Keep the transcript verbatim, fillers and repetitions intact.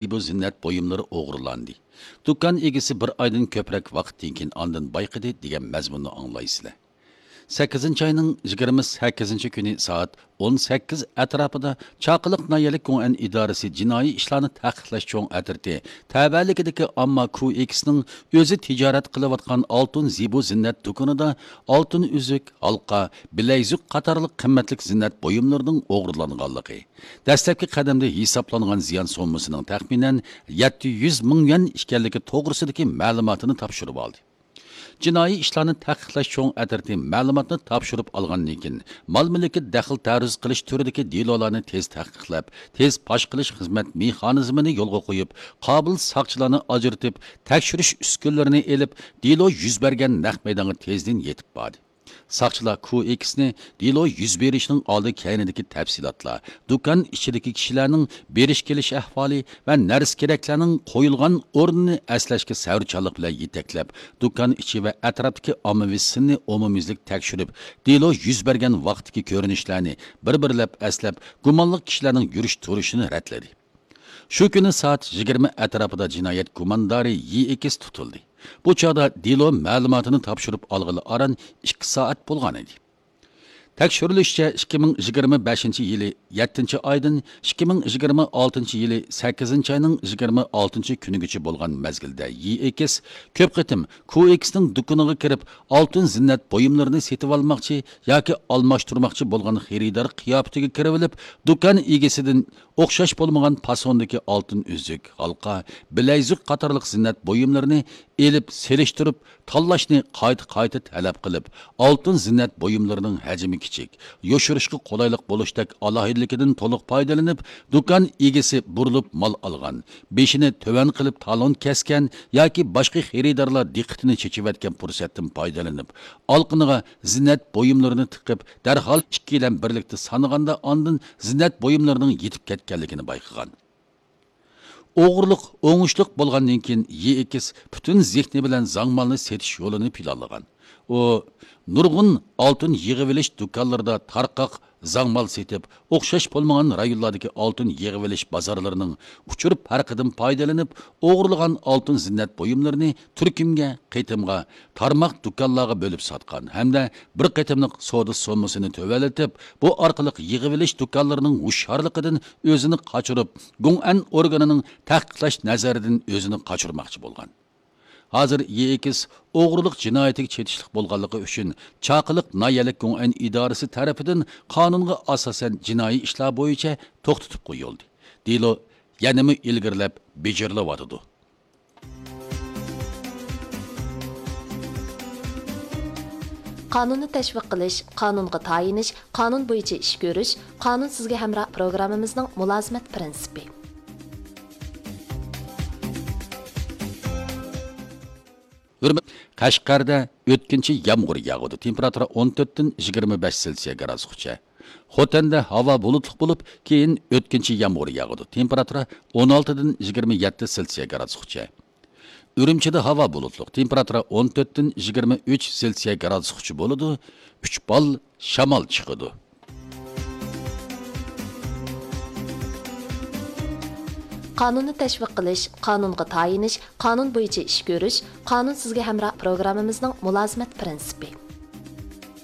زىبۇ زىننەت بۇيۇملىرى ئوغرىلاندى. دۇكان ئىگىسى بىر ئايدىن كۆپرەك ۋاقىتتىن كېيىن ئاندىن بايقىدى دېگەن مەزمۇننى ئاڭلايسىلەر. سەككىزىنچى ئاينىڭ يىگىرمە سەككىزىنچى كۈنى سائەت ئون سەككىز ئەتراپىدا چاقىلىق ناھىيەلىك گوڭئەن ئىدارىسى جىنايى ئىشلارنى تەھقىقلەش چوڭ ئەترىتى تەۋەلىكىدىكى ئامما كۇ ئېكسنىڭ ئۆزى تىجارەت قىلىۋاتقان ئالتۇن زىبۇ زىننەت دۇكىنىدا ئالتۇن ئۈزۈك، ھالقا، بىلەيزۈك قاتارلىق قىممەتلىك زىننەت بۇيۇملىرىنىڭ ئوغرىلانغانلىقى، دەسلەپكى قەدەمدە ھېسابلانغان زىيان سوممىسىنىڭ تەخمىنەن يەتتە يۈز مىڭ يۈەن ئىكەنلىكى توغرىسىدىكى مەلۇماتىنى تاپشۇرۇۋالدى. جىنايى ئىشلارنى تەھقىقلەش چوڭ ئەترىتى مەلۇماتنى تاپشۇرۇپ ئالغاندىن كېيىن، مال مۈلۈككە دەخلى تەرۇز قىلىش تۈرىدىكى دېلولارنى تېز تەھقىقلەپ، تېز پاش قىلىش خىزمەت مېخانىزمىنى يولغا قويۇپ، قابىل ساقچىلارنى ئاجرىتىپ، تەكشۈرۈش ئۈسكۈنىلىرىنى ئېلىپ، دېلو يۈز بەرگەن نەق مەيدانغا تېزدىن يېتىپ باردى. ساقچىلار كۇ ئېكسنى دېلو يۈز بېرىشنىڭ ئالدى كەينىدىكى تەپسىلاتلار، دۇكان ئىچىدىكى كىشىلەرنىڭ بېرىش كېلىش ئەھۋالى ۋە نەرسە كېرەكلەرنىڭ قويۇلغان ئورنىنى ئەسلەشكە سەۋرچانلىق بىلەن يېتەكلەپ، دۇكان ئىچى ۋە ئەتراپتىكى ئاممىۋى سىننى ئومۇميۈزلۈك تەكشۈرۈپ، دېلو يۈز بەرگەن ۋاقىتتىكى كۆرۈنۈشلەرنى بىر-بىرلەپ ئەسلەپ، گۇمانلىق كىشىلەرنىڭ يۈرۈش تۇرۇشىنى رەتلىدى. شۇ كۈنى سائەت يىگىرمە ئەتراپىدا جىنايەت گۇماندارى يى ئېكس تۇتۇلدى. بۇ چاغدا دېلو مەلۇماتىنى تاپشۇرۇپ ئالغىلى ئاران ئىككى سائەت بولغان ئىدى. تەكشۈرۈلۈشىچە، ئىككى مىڭ يىگىرمە بەشىنچى يىلى يەتتىنچى ئايدىن ئىككى مىڭ يىگىرمە ئالتىنچى يىلى سەككىزىنچى ئاينىڭ يىگىرمە ئالتىنچى كۈنىگىچە بولغان مەزگىلدە يى ئېكس كۆپ قېتىم كۇ ئېكسنىڭ دۇكىنىغا كىرىپ، ئالتۇن زىننەت بۇيۇملىرىنى سېتىۋالماقچى ياكى ئالماشتۇرماقچى بولغان خېرىدار قىياپىتىگە كىرىۋېلىپ، دۇكان ئىگىسىدىن ئوخشاش بولمىغان پاسوندىكى ئالتۇن ئۈزۈك، ھالقا، بىلەيزۈك قاتارلىق زىننەت بۇيۇملىرىنى ئېلىپ سېلىشتۇرۇپ تاللاشنى قايتا-قايتا تەلەپ قىلىپ، ئالتۇن زىننەت بۇيۇملىرىنىڭ ھەجمى كىچىك، يوشۇرۇشقا قولايلىق بولۇشتەك ئالاھىدىلىكىدىن تولۇق پايدىلىنىپ، دۇكان ئىگىسى بۇرۇلۇپ مال ئالغان، بېشىنى تۆۋەن قىلىپ تالون كەسكەن ياكى باشقا خېرىدارلار دىققىتىنى چېچىۋەتكەن پۇرسەتتىن پايدىلىنىپ، ئالقىنىغا زىننەت بۇيۇملىرىنى تىقىپ، دەرھال ئىككىيلەن بىرلىكتە سانىغاندا ئاندىن زىننەت بۇيۇملىرىنىڭ يېتىپ كەتكەنلىكىنى بايقىغان. ئوغرىلىق ئوڭۇشلۇق بولغاندىن كېيىن، يى ئېكس پۈتۈن زېھنى بىلەن زاڭمالنى سېتىش يولىنى پىلانلىغان. ئۇ نۇرغۇن ئالتۇن يىغىۋېلىش دۇكانلىرىدا تارقاق زاڭمال سېتىپ، ئوخشاش بولمىغان رايونلاردىكى ئالتۇن يىغىۋېلىش بازارلىرىنىڭ ئۇچۇر پەرقىدىن پايدىلىنىپ، ئوغرىلىغان ئالتۇن زىننەت بۇيۇملىرىنى تۈركۈمگە، قېتىمغا، تارماق دۇكانلارغا بۆلۈپ ساتقان ھەمدە بىر قېتىملىق سودا سوممىسىنى تۆۋەنلىتىپ، بۇ ئارقىلىق يىغىۋېلىش دۇكانلىرىنىڭ ھوشيارلىقىدىن ئۆزىنى قاچۇرۇپ، گوڭئەن ئورگىنىنىڭ تەھقىقلەش نەزىرىدىن ئۆزىنى قاچۇرماقچى بولغان. ھازىر يېئېكس ئوغرىلىق جىنايىتىگە چېتىشلىق بولغانلىقى ئۈچۈن، چاقىلىق ناھىيەلىك گوڭئەن ئىدارىسى تەرىپىدىن قانۇنغا ئاساسەن جىنايى ئىشلار بويىچە توختىتىپ قويۇلدى. دېلو يەنىمۇ ئىلگىرىلەپ بېجىرىلىۋاتىدۇ. قانۇننى تەشۋىق قىلىش، قانۇنغا تايىنىش، قانۇن بويىچە ئىش كۆرۈش، قانۇن سىزگە ھەمراھ پروگراممىمىزنىڭ مۇلازىمەت پىرىنسىپى. ھۆرمەت. قەشقەردە ئۆتكۈنچى يامغۇر ياغىدۇ. تېمپېراتۇرا ئون تۆتتىن يىگىرمە بەش سېلسىيە گرادۇسقىچە. خوتەندە ھاۋا بۇلۇتلۇق بولۇپ، كېيىن ئۆتكۈنچى يامغۇر ياغىدۇ. تېمپېراتۇرا ئون ئالتىدىن يىگىرمە يەتتە سېلسىيە گرادۇسقىچە. ئۈرۈمچىدە ھاۋا بۇلۇتلۇق. تېمپېراتۇرا ئون تۆتتىن يىگىرمە ئۈچ سېلسىيە گرادۇسقىچە بولىدۇ. ئۈچ بال شامال چىقىدۇ. قانۇننى تەشۋىق قىلىش، قانۇنغا تايىنىش، قانۇن بويىچە ئىش كۆرۈش، قانۇن سىزگە ھەمراھ پروگراممىمىزنىڭ مۇلازىمەت پىرىنسىپى.